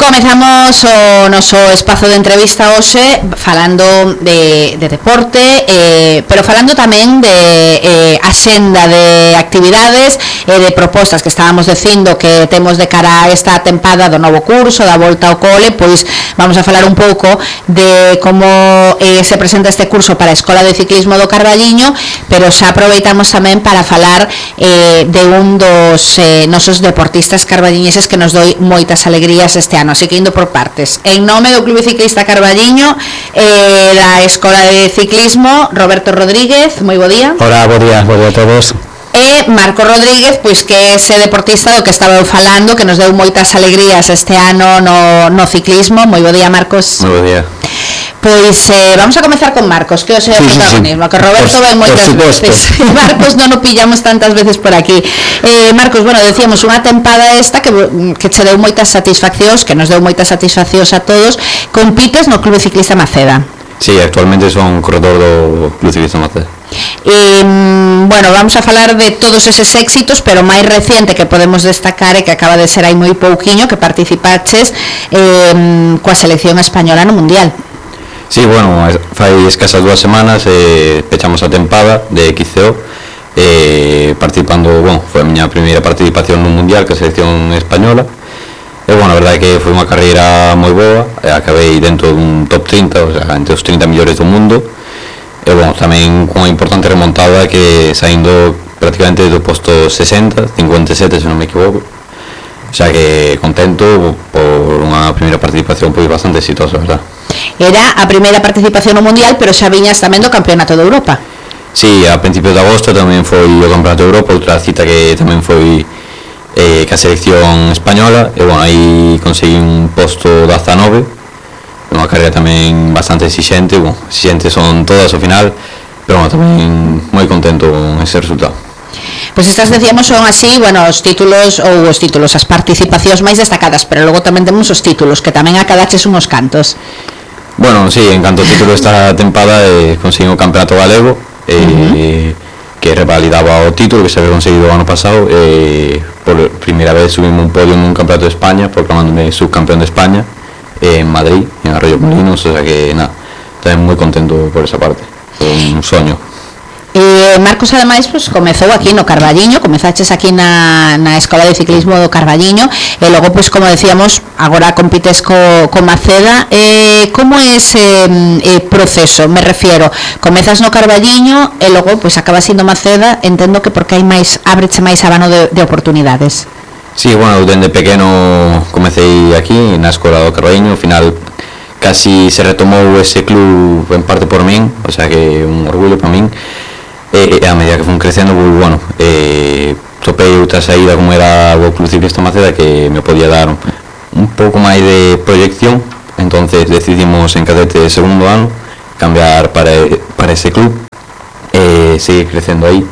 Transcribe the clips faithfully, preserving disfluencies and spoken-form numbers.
comezamos o noso espazo de entrevista hoxe falando de, de deporte, eh, pero falando tamén de eh, axenda de actividades e eh, de propostas que estábamos dicindo que temos de cara a esta tempada do novo curso, da volta ao cole. Pois vamos a falar un pouco de como eh, se presenta este curso para a Escola de Ciclismo do Carballiño, pero xa aproveitamos tamén para falar eh, de un dos eh, nosos deportistas carballiñeses que nos doi moitas alegrías este ano, así que indo por partes. En nome do Clube Ciclista Carballiño, eh, da Escola de Ciclismo, Roberto Rodríguez, moi bo día. Hola, bo día, bo día a todos. E Marcos Rodríguez, pois que é ese deportista do que estaba eu falando, que nos deu moitas alegrías este ano no, no ciclismo. Moi bo día, Marcos. Moi bo día. Pois eh, vamos a comezar con Marcos, que hoxe é o sí, protagonismo, sí, sí. Que Roberto ven moitas veces. Marcos non o pillamos tantas veces por aquí. Eh, Marcos, bueno, decíamos unha tempada esta que, que che deu moitas satisfaccións, que nos deu moitas satisfaccións a todos. Compites no Clube Ciclista Maceda. Sí, actualmente son corredor do Clube Ciclista Maceda. Eh, bueno, vamos a falar de todos eses éxitos, pero máis reciente que podemos destacar é que acaba de ser aí moi pouquiño que participaches eh, coa selección española no Mundial. Sí, bueno, fai escasas dúas semanas eh, pechamos a tempada de X C O eh, participando, bueno, foi a miña primeira participación no Mundial que a selección española e, bueno, a verdade é que foi unha carreira moi boa, eh, acabei dentro dun top trinta, o sea, entre os trinta millores do mundo e, bueno, tamén con unha importante remontada que saindo prácticamente do posto sesenta, cincuenta e sete se non me equivoco, o sea que contento por unha primeira participación pois bastante exitosa, verdad. Era a primeira participación no Mundial, pero xa viñas tamén do Campeonato de Europa. Sí, a principios de agosto tamén foi o Campeonato de Europa, outra cita que tamén foi eh, ca selección española e, bueno, aí conseguí un posto dezanove, unha carreira tamén bastante exixente, bueno, exixentes son todas ao final, pero, bueno, tamén moi contento con ese resultado. Pois estas, decíamos, son así, bueno, os títulos ou os títulos, as participacións máis destacadas, pero logo tamén temos os títulos, que tamén acadaches unhos cantos. Bueno, sí, en canto ao título esta tempada eh, conseguí o Campeonato Galego eh, uh-huh. que revalidaba o título que se había conseguido o ano pasado eh, por primeira vez subimos un podio nun Campeonato de España proclamándome subcampeón de España eh, en Madrid, en Arroyo Molinos, o sea que nada, tamén moi contento por esa parte, foi un soño. Eh, Marcos, ademais, pues, comezou aquí no Carballiño, comezaches aquí na, na Escola de Ciclismo do Carballiño e logo, pues, como decíamos, agora compites co, co Maceda. Eh, como é ese eh, proceso? Me refiero, comezas no Carballiño e logo, pues, acabas indo Maceda, entendo que porque hai máis, ábreche máis abano de, de oportunidades. Sí, bueno, dende pequeno comecei aquí na Escola do Carballiño, ao final casi se retomou ese club en parte por min, o sea que un orgullo para min. E a medida que fun crecendo, pues, bueno, eh, topei outra saída como era o Club Ciclista Maceda que me podía dar un, un pouco máis de proyección, entonces decidimos en cadete de segundo ano cambiar para, para ese club e eh, seguir crecendo aí,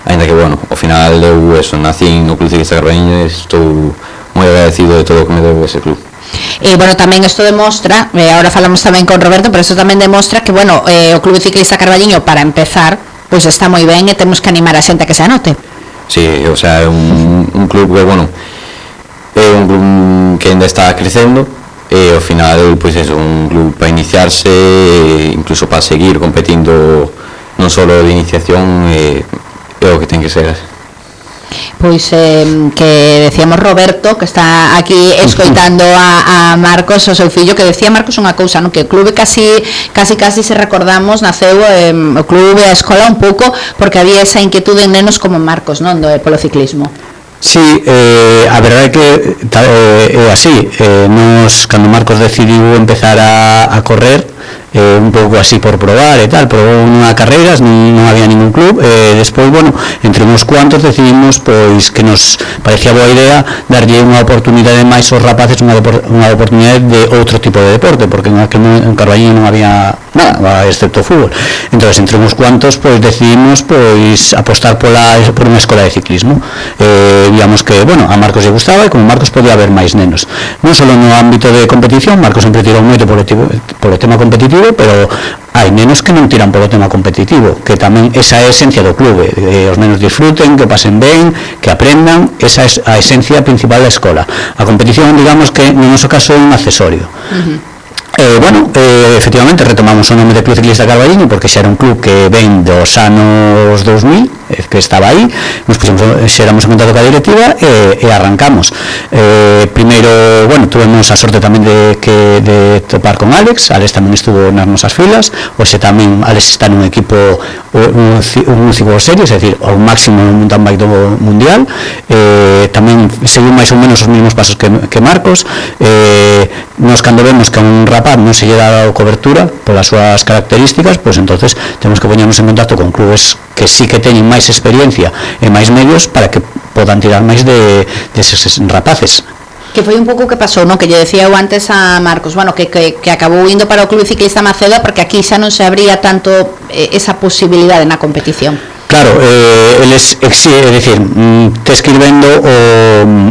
ainda que, bueno, ao final eu eso, nací no Club Ciclista Carballiño e estou moi agradecido de todo o que me deu ese club. E, bueno, tamén isto demostra, eh, ahora falamos tamén con Roberto, pero isto tamén demostra que, bueno, eh, o Club Ciclista Carballiño, para empezar, pois pues está moi ben e temos que animar a xente a que se anote. Sí, o sea, é un, un club que, bueno, é un club que ainda está crecendo e ao final, pois pues, é un club para iniciarse e incluso para seguir competindo non só de iniciación, é, é o que ten que ser. Pois eh, que decíamos Roberto, que está aquí escoitando a, a Marcos, o seu fillo, que decía Marcos unha cousa, no? Que o clube casi casi casi se recordamos, naceu eh, o clube, a escola un pouco porque había esa inquietude en nenos como Marcos, non, do polo ciclismo. Sí, eh, a verdade é que é eh, así, eh, nos, cando Marcos decidiu empezar a, a correr, eh, un pouco así por probar e tal, probou nunha carreiras, non, non había ningún club, e eh, despois, bueno, entre uns cuantos decidimos pois que nos parecía boa idea darlle unha oportunidade máis aos rapaces, unha, unha oportunidade de outro tipo de deporte, porque en aquel en Carballiño non había nada, excepto fútbol. Entonces, entre uns cuantos, pois decidimos pois apostar pola, por unha escola de ciclismo. Eh, víamos que, bueno, a Marcos lle gustaba e como Marcos podía haber máis nenos. Non só no ámbito de competición, Marcos sempre tirou moito por o, por o tema competitivo, clube, pero hai nenos que non tiran polo tema competitivo, que tamén esa é a esencia do clube, que os nenos disfruten, que pasen ben, que aprendan, esa é a esencia principal da escola. A competición, digamos que no noso caso é un accesorio. Uh-huh. Eh, bueno, eh, efectivamente retomamos o nome de Club Ciclista Carballiño porque xa era un club que ven dos anos dos mil, eh, que estaba aí, nos puxemos, xeramos en contacto ca directiva e, e arrancamos. Eh, primeiro, bueno, tuvemos a sorte tamén de, que, de topar con Alex. Alex tamén estuvo nas nosas filas, hoxe tamén Alex está nun equipo un, un ciclo serio, é dicir, ao máximo no mountain bike do mundial. Eh, tamén seguiu máis ou menos os mesmos pasos que, que Marcos. Eh, nos cando vemos que a un rapaz non se lle dá cobertura polas súas características, pois entonces temos que poñernos en contacto con clubes que sí que teñen máis experiencia e máis medios para que podan tirar máis de, de eses rapaces. Que foi un pouco que pasou, non? Que lle decía eu antes a Marcos, bueno, que, que, que acabou indo para o Club Ciclista Maceda porque aquí xa non se abría tanto eh, esa posibilidade na competición. Claro, eh, eles exige, é dicir, mm, tes que ir vendo o,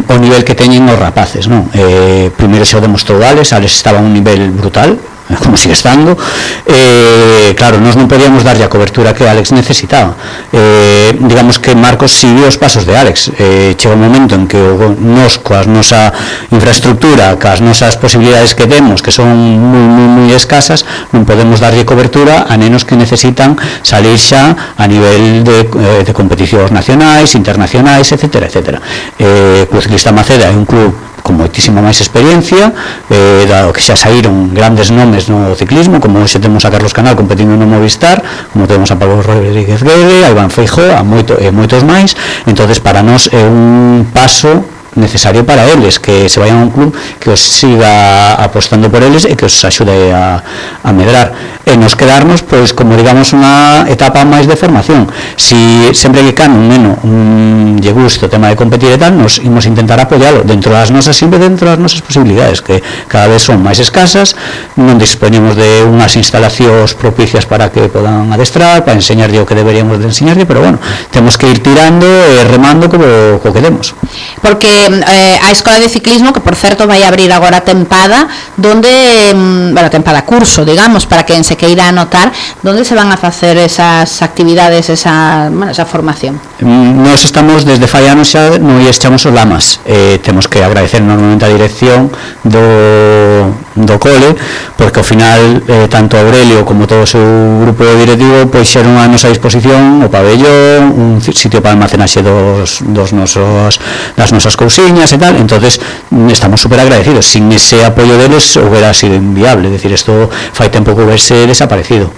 o nivel que teñen os rapaces, non? Eh, primeiro xa o demostrou Alex, Alex estaba a un nivel brutal, como sigue estando. Eh, claro, nós non podíamos darlle a cobertura que Alex necesitaba. Eh, digamos que Marcos sigue os pasos de Alex. Eh, chega un momento en que o, nos, coa nosa infraestructura, coas nosas posibilidades que temos, que son moi, moi, moi escasas, non podemos darlle cobertura a nenos que necesitan salir xa a nivel de, eh, de competicións nacionais, internacionais, etcétera, etcétera. Eh, Club Ciclista Maceda é un club con moitísima máis experiencia, eh, dado que xa saíron grandes nomes no ciclismo, como hoxe temos a Carlos Canal competindo no Movistar, como temos a Pablo Rodríguez Guede, a Iván Feijóo, a moito, e moitos máis. Entonces para nós é un paso necesario para eles, que se vayan a un club que os siga apostando por eles e que os axude a, a medrar, e nos quedarnos pois como digamos unha etapa máis de formación. Si sempre que can un neno un lle gusta o tema de competir e tal, nos imos intentar apoialo dentro das nosas, sempre dentro das nosas posibilidades, que cada vez son máis escasas, non dispoñemos de unhas instalacións propicias para que podan adestrar, para enseñarlle o que deberíamos de enseñarlle, pero bueno, temos que ir tirando e remando co, co que demos. Porque eh, a Escola de Ciclismo, que por certo vai abrir agora a tempada, donde, bueno, tempada curso, digamos, para quen se queira anotar, donde se van a facer esas actividades, esa, bueno, esa formación? Nós estamos desde fai anos xa no echamos os lamas. Eh, temos que agradecer normalmente a dirección do, do cole, porque ao final eh, tanto Aurelio como todo o seu grupo directivo pois xeron a nosa disposición o pabellón, un sitio para almacenaxe dos, dos nosos, das nosas cousiñas e tal. Entonces estamos super agradecidos. Sin ese apoio deles hubiera sido inviable, es decir, esto fai tempo que hubiese desaparecido.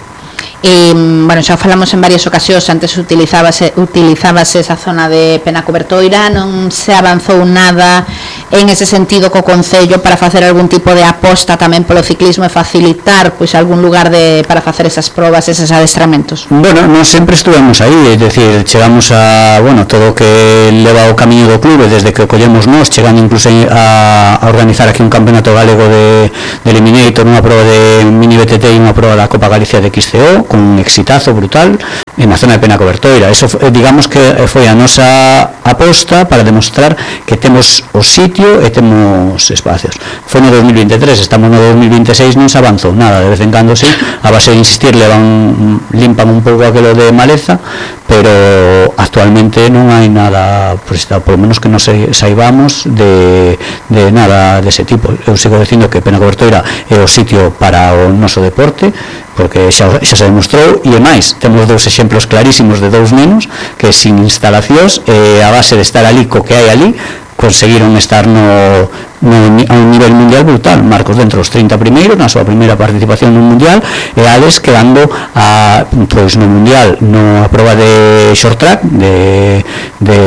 E, bueno, xa falamos en varias ocasións, antes utilizábase, utilizábase esa zona de Penacobertoira, non se avanzou nada en ese sentido co Concello para facer algún tipo de aposta tamén polo ciclismo e facilitar pois algún lugar de, para facer esas probas, esos adestramentos? Bueno, non sempre estuvemos aí, é dicir, chegamos a, bueno, todo o que leva o camiño do clube desde que o collemos nós, chegando incluso a, a organizar aquí un campeonato galego de, de Eliminator, unha proba de mini B T T e unha proba da Copa Galicia de X C O, con un exitazo brutal en a zona de Penacobertoira. Eso digamos que foi a nosa aposta para demostrar que temos o sitio e temos espacios. Foi no dos mil veintitrés, estamos no dos mil veintiséis, non se avanzou nada, de vez en cando sí, a base de insistir levan, limpan un pouco aquilo de maleza, pero actualmente non hai nada, pues, por lo menos que non saibamos de, de nada dese tipo. Eu sigo dicindo que Penacobertoira é o sitio para o noso deporte, porque xa, xa se demostrou, e máis, temos dous exemplos clarísimos de dous nenos que sin instalacións, eh, a base de estar ali co que hai ali, conseguiron estar no, no, a un nivel mundial brutal. Marcos dentro dos trinta primeiros na súa primeira participación no mundial, e Alex quedando a, pois, no mundial no a proba de short track de, de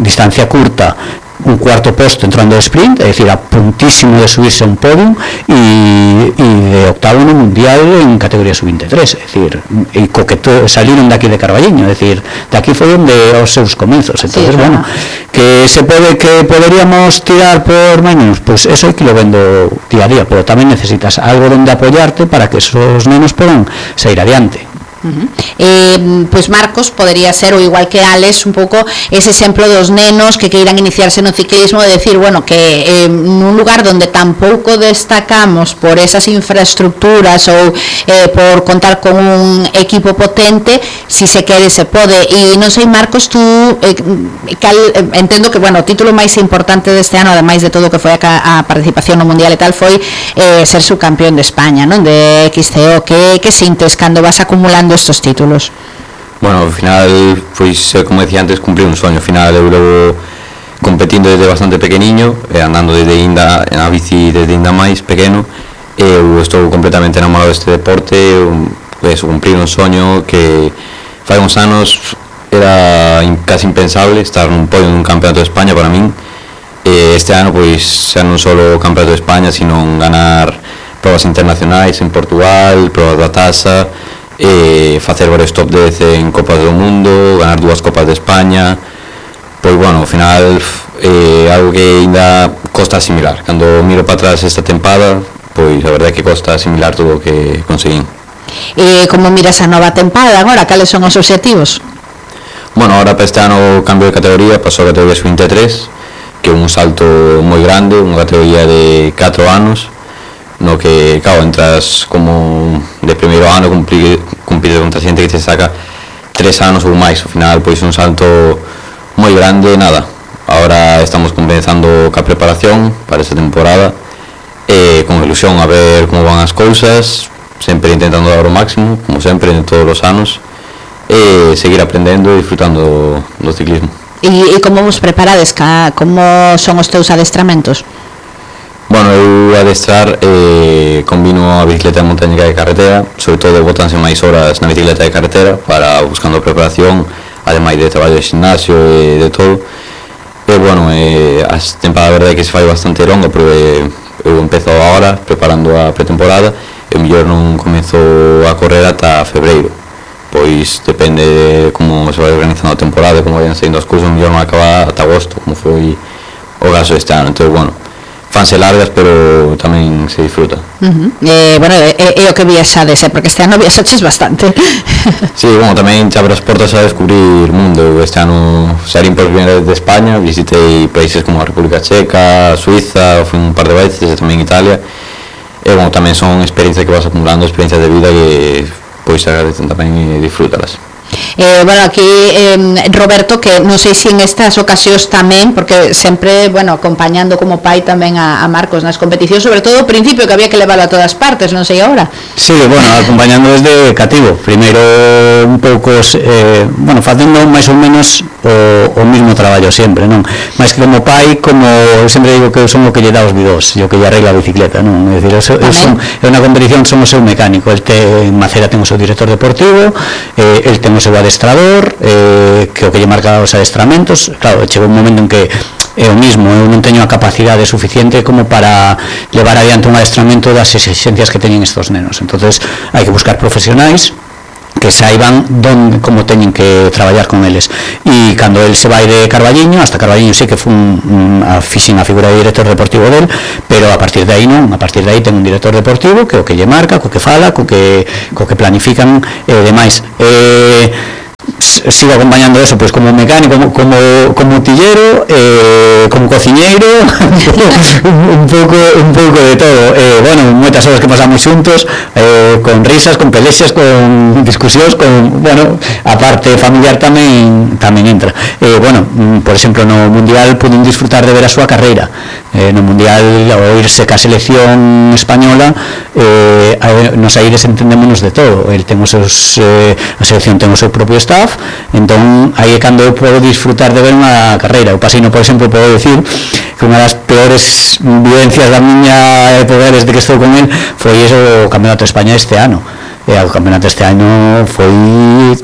distancia curta, un cuarto posto entrando de sprint, é dicir, a puntísimo de subirse a un podium, e, e de octavo no mundial en categoría sub veintitrés, é dicir, e co que to, salieron daqui de Carballiño, é dicir, daqui foi onde os seus comenzos. Entonces, sí, bueno, que se pode, que poderíamos tirar por maños, pois pues eso é que lo vendo día a día, pero tamén necesitas algo donde apoyarte para que esos nenos podan sair adiante. Uh-huh. Eh, pues Marcos podería ser, ou igual que Alex, un pouco ese exemplo dos nenos que queiran iniciarse no ciclismo, de decir, bueno, que eh, nun lugar donde tampouco destacamos por esas infraestructuras ou eh, por contar con un equipo potente, si se quere se pode. E non sei, Marcos, tú eh, cal, eh, entendo que, bueno, o título máis importante deste ano, ademais de todo o que foi a, a participación no Mundial e tal, foi eh, ser subcampeón de España, non? De X C O. Que, que sintes cando vas acumulando estos títulos? Bueno, ao final, pois, como decía antes, cumplir un soño. Ao final, eu levo competindo desde bastante pequeniño, eh, andando desde inda, na bici desde inda máis pequeno. Eu estou completamente enamorado deste deporte, eso, cumplir un soño que fai uns anos era casi impensable estar nun podio dun campeonato de España para min. Eh, este ano, pois, xa non só o campeonato de España, sino ganar probas internacionais en Portugal, probas da Taza, eh, facer varios top dez en Copas do Mundo, ganar dúas Copas de España. Pois, bueno, ao final, eh, algo que ainda costa asimilar. Cando miro para atrás esta tempada, pois a verdade é que costa asimilar todo o que conseguín. E como miras a nova tempada agora? Cales son os obxectivos? Bueno, ahora para este ano cambio de categoría, paso a categoría sub veintitrés, que é un salto moi grande, unha categoría de catro anos, no que, claro, entras como de primeiro ano, cumplir, cumplir contra xente que te saca tres anos ou máis. Ao final, pois, un salto moi grande. Nada, ahora estamos comenzando ca preparación para esta temporada, eh, con ilusión a ver como van as cousas, sempre intentando dar o máximo, como sempre, en todos os anos, e seguir aprendendo e disfrutando do ciclismo. E, e como vos preparades? Como son os teus adestramentos? Bueno, eu adestrar eh, combino a bicicleta de montaña e de carretera, sobre todo botanse máis horas na bicicleta de carretera para buscando preparación, ademais de traballo de gimnasio e de todo. E bueno, eh, a temporada, a verdade é que se fai bastante longa, porque eu empezo agora preparando a pretemporada e o mellor non comezo a correr ata febreiro, pois depende de como se vai organizando a temporada, como vayan saindo as cousas, o mellor non acaba ata agosto, como foi o caso este ano. Entón, bueno, fanse largas, pero tamén se disfruta. Uh-huh. eh, bueno, é, é o que viaxades, eh, porque este ano viaxaches bastante. Sí, bueno, tamén xa abro as portas a descubrir mundo. Este ano saín por primeira vez de España, visitei países como a República Checa, Suiza, fui un par de veces, e tamén Italia. E, bueno, tamén son experiencias que vas acumulando, experiencias de vida que, pois, agradecen tamén e disfrútalas. Eh, bueno, aquí eh, Roberto, que non sei se en estas ocasións tamén, porque sempre, bueno, acompañando como pai tamén a, a Marcos nas competicións, sobre todo ao principio que había que levarlo a todas partes, non sei agora. Sí, bueno, acompañando desde cativo, primeiro un pouco, eh, bueno, facendo máis ou menos o, o mismo traballo sempre, non? Mais que como pai, como sempre digo que eu son o que lle dá os bidós, e o que lle arregla a bicicleta, non? É dicir, eu, eu son, é unha competición, son o seu mecánico, el te, en Macera ten o seu director deportivo, eh, el ten o seu adestrador, eh, que o que lle marca os adestramentos. Claro, chegou un momento en que é o mismo, eu non teño a capacidade suficiente como para levar adiante un adestramento das exigencias que teñen estos nenos. Entonces hai que buscar profesionais que saiban donde, como teñen que traballar con eles. E cando el se vai de Carballiño, hasta Carballiño sei que fun a fixen a figura de director deportivo del, pero a partir de aí non, a partir de aí ten un director deportivo que o que lle marca, co que fala, co que, co que planifican e demais. Eh, sigo acompañando eso, pois, como mecánico, como, como, como tillero, eh, como cociñeiro, un pouco un pouco de todo. Eh, bueno, moitas horas que pasamos xuntos, eh, con risas, con pelexas, con discusións, con, bueno, a parte familiar tamén tamén entra. Eh, bueno, por exemplo, no Mundial pude disfrutar de ver a súa carreira. Eh, no Mundial, ao irse ca selección española, eh, nos aires entendémonos de todo. El ten os seus, eh, a selección ten o seu propio staff, entón aí é cando eu podo disfrutar de ver unha carreira. O Pasino, por exemplo, podo decir que unha das peores vivencias da miña época desde que estou con el foi o Campeonato de España este ano. E o Campeonato este ano foi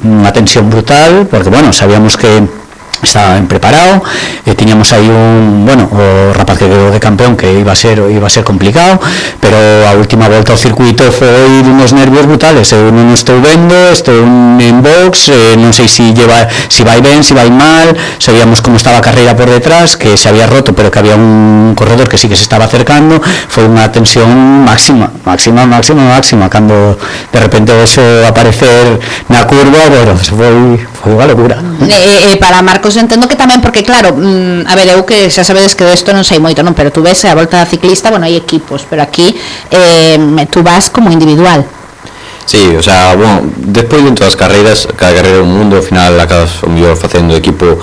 unha tensión brutal, porque, bueno, sabíamos que estaba ben preparado, e tiñamos aí un, bueno, o rapaz que quedou de campeón, que iba a ser iba a ser complicado, pero a última volta ao circuito foi dunos nervios brutales. Eu non estou vendo, estou en box, eh, non sei se lleva, si vai ben, si vai mal. Sabíamos como estaba a carreira por detrás, que se había roto, pero que había un corredor que sí que se estaba acercando. Foi unha tensión máxima. máxima, máxima, máxima, cando de repente eso aparecer na curva, bueno, eso foi, foi unha locura. E, e para Marcos entendo que tamén, porque claro, mm, a ver, eu que xa sabedes que desto non sei moito, non, pero tú ves a volta da ciclista, bueno, hai equipos, pero aquí eh, tú vas como individual. Sí, o sea, bueno, despois de todas as carreiras, cada carreira é un mundo, ao final acabas o mellor facendo equipo,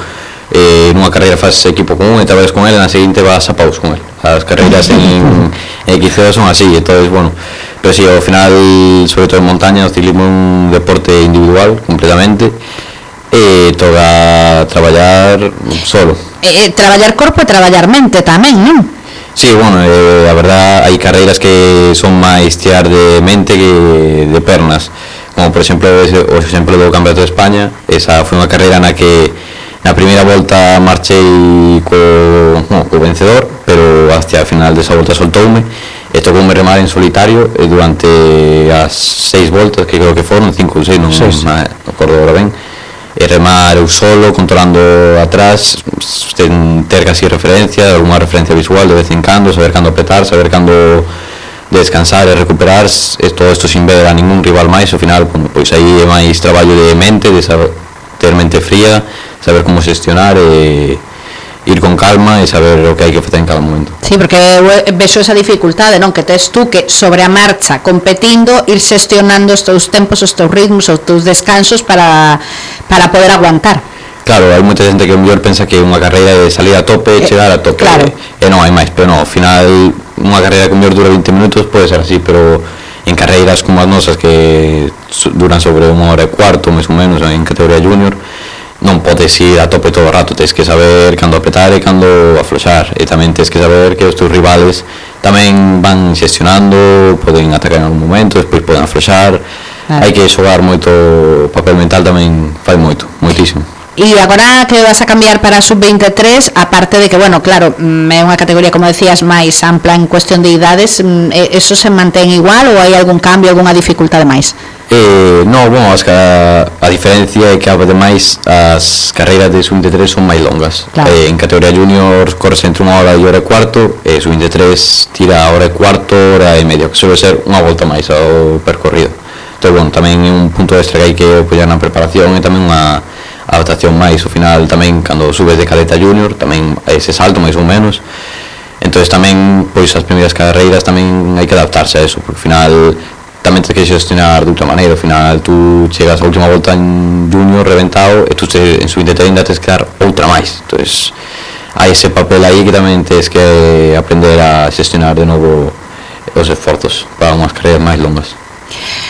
eh, nunha carreira faz equipo con un e traballas con ele, na seguinte vas a paus con ele. As carreiras en, en X C O son así, entonces, bueno, pero sí, ao final, sobre todo en montaña, o ciclismo é un deporte individual, completamente, e toca traballar solo. Eh, traballar corpo e traballar mente tamén, non? Sí, bueno, eh, a verdad hai carreiras que son máis tirar de mente que de pernas, como por exemplo o exemplo do Campeonato de España. Esa foi unha carreira na que na primeira volta marchei co, no, co vencedor, pero hasta a final desa volta soltoume e tocoume remar en solitario e durante as seis voltas, que creo que foron cinco ou seis, non me acordo agora ben, e remar eu solo, controlando atrás, ten ter casi referencia, alguna referencia visual de vez en cando, saber cando apretar, saber cando descansar e recuperar, e todo isto sin ver a ningún rival máis. Ao final, pois aí é máis traballo de mente, de saber, ter mente fría, saber como xestionar e ir con calma e saber o que hai que facer en cada momento. Sí, porque vexo esa dificultade, non, que tes tú que sobre a marcha competindo ir xestionando os teus tempos, os teus ritmos, os teus descansos para para poder aguantar. Claro, hai moita xente que o mellor pensa que unha carreira é salir a tope e chegar a tope, claro. E non hai máis, pero non, ao final unha carreira que o mellor dura veinte minutos pode ser así, pero en carreiras como as nosas que duran sobre unha hora e cuarto, máis ou menos, en categoría junior, non podes ir a tope todo o rato, tens que saber cando apretar e cando afloxar, e tamén tens que saber que os teus rivales tamén van xestionando, poden atacar en algún momento, despois poden afloxar. Ah. Hai que xogar moito, o papel mental tamén fai moito, moitísimo. E agora que vas a cambiar para a sub veintitrés, aparte de que, bueno, claro, é unha categoría, como decías, máis ampla en cuestión de idades, eso se mantén igual ou hai algún cambio, algunha dificultade máis? Eh, no, bueno, as, a, a diferencia é que ademais as carreiras de sub veintitrés son máis longas. Claro. Eh, en categoría junior corres entre unha hora e hora e cuarto, e sub veintitrés tira a hora e cuarto, hora e media, que suele ser unha volta máis ao percorrido. Entón, bueno, tamén é un punto extra que hai que apoiar na preparación e tamén unha adaptación máis. Ao final tamén cando subes de cadeta junior tamén hai ese salto máis ou menos, entón tamén pois as primeiras carreiras tamén hai que adaptarse a eso, porque ao final tamén tens que xestionar de outra maneira. Ao final tú chegas a última volta en junior reventado e tú en sub veintitrés ainda tens que dar outra máis, entón hai ese papel aí que tamén tens que aprender a xestionar de novo os esforzos para unhas carreiras máis longas.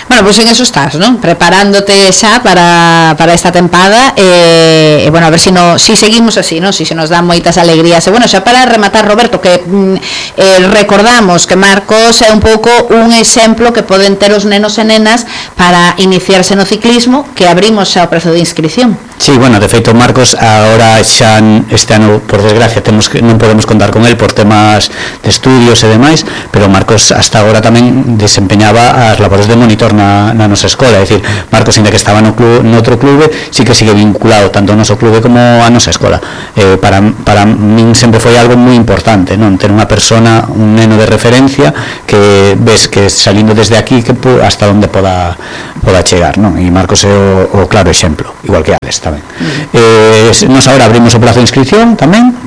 Bueno, pois pues en eso estás, non? Preparándote xa para, para esta tempada e, eh, bueno, a ver se si no, si seguimos así, non? Si se nos dan moitas alegrías. E bueno, xa para rematar, Roberto, que eh, recordamos que Marcos é un pouco un exemplo que poden ter os nenos e nenas para iniciarse no ciclismo, que abrimos xa o prezo de inscripción. Sí, bueno, de feito Marcos agora xa este ano, por desgracia, temos que non podemos contar con el por temas de estudios e demais, pero Marcos hasta agora tamén desempeñaba as labores de monitor na, na nosa escola, é dicir, Marcos, ainda que estaba no, club, no outro clube, sí que sigue vinculado tanto ao noso clube como á nosa escola. Eh, para, para min sempre foi algo moi importante, non? Ter unha persona, un neno de referencia que ves que salindo desde aquí que hasta onde poda, poda chegar, non? E Marcos é o, o claro exemplo, igual que Alex tamén. Uh-huh. Eh, nos agora abrimos o plazo de inscripción tamén.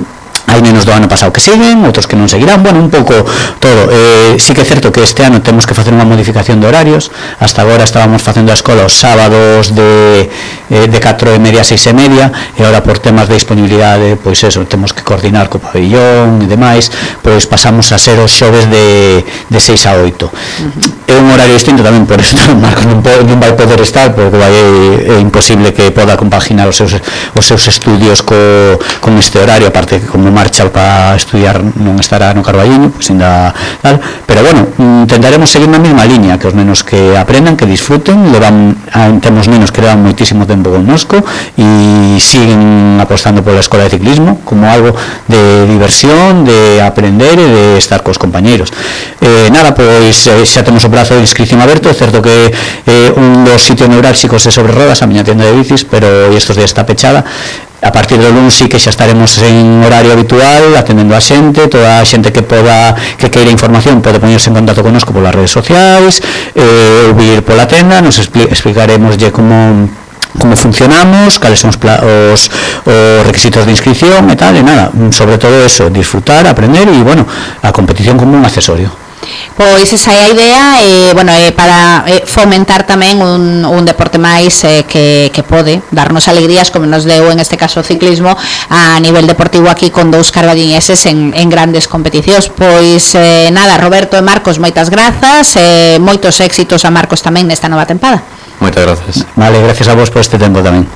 Hai nenos do ano pasado que siguen, outros que non seguirán, bueno, un pouco todo. Eh, sí que é certo que este ano temos que facer unha modificación de horarios. Hasta agora estábamos facendo a escola os sábados de, eh, de catro e media a seis e media, e agora por temas de disponibilidade, pois eso, temos que coordinar co pabellón e demais, pois pasamos a ser os xoves de, de seis a oito. Uh-huh. É un horario distinto tamén, por eso Marcos non, pode, non vai poder estar, porque vai, é, é imposible que poda compaginar os seus, os seus estudios co, con este horario, aparte que como marcha para estudiar non estará no Carballiño, pois ainda tal, pero bueno, intentaremos seguir na mesma liña, que os nenos que aprendan, que disfruten, levan, temos nenos que levan moitísimo tempo connosco e siguen apostando pola escola de ciclismo como algo de diversión, de aprender e de estar cos compañeiros. Eh, nada, pois xa temos o prazo de inscripción aberto. É certo que eh, un dos sitios neurálxicos é sobre rodas, a miña tienda de bicis, pero estes días está pechada. a partir do lunes sí que xa estaremos en horario habitual atendendo a xente, toda a xente que poda que queira información pode poñerse en contacto connosco polas redes sociais, eh, ou vir pola tenda, nos expli explicaremoslle como como funcionamos, cales son os, os, os requisitos de inscripción e tal, e nada, sobre todo eso, disfrutar, aprender e, bueno, a competición como un accesorio. Pois esa é a idea, e, bueno, é para é, fomentar tamén un, un deporte máis eh, que, que pode darnos alegrías, como nos deu en este caso o ciclismo a nivel deportivo aquí con dous carballiñeses en, en grandes competicións. Pois eh, nada, Roberto e Marcos, moitas grazas, eh, moitos éxitos a Marcos tamén nesta nova tempada. Moitas grazas. Vale, gracias a vos por este tempo tamén.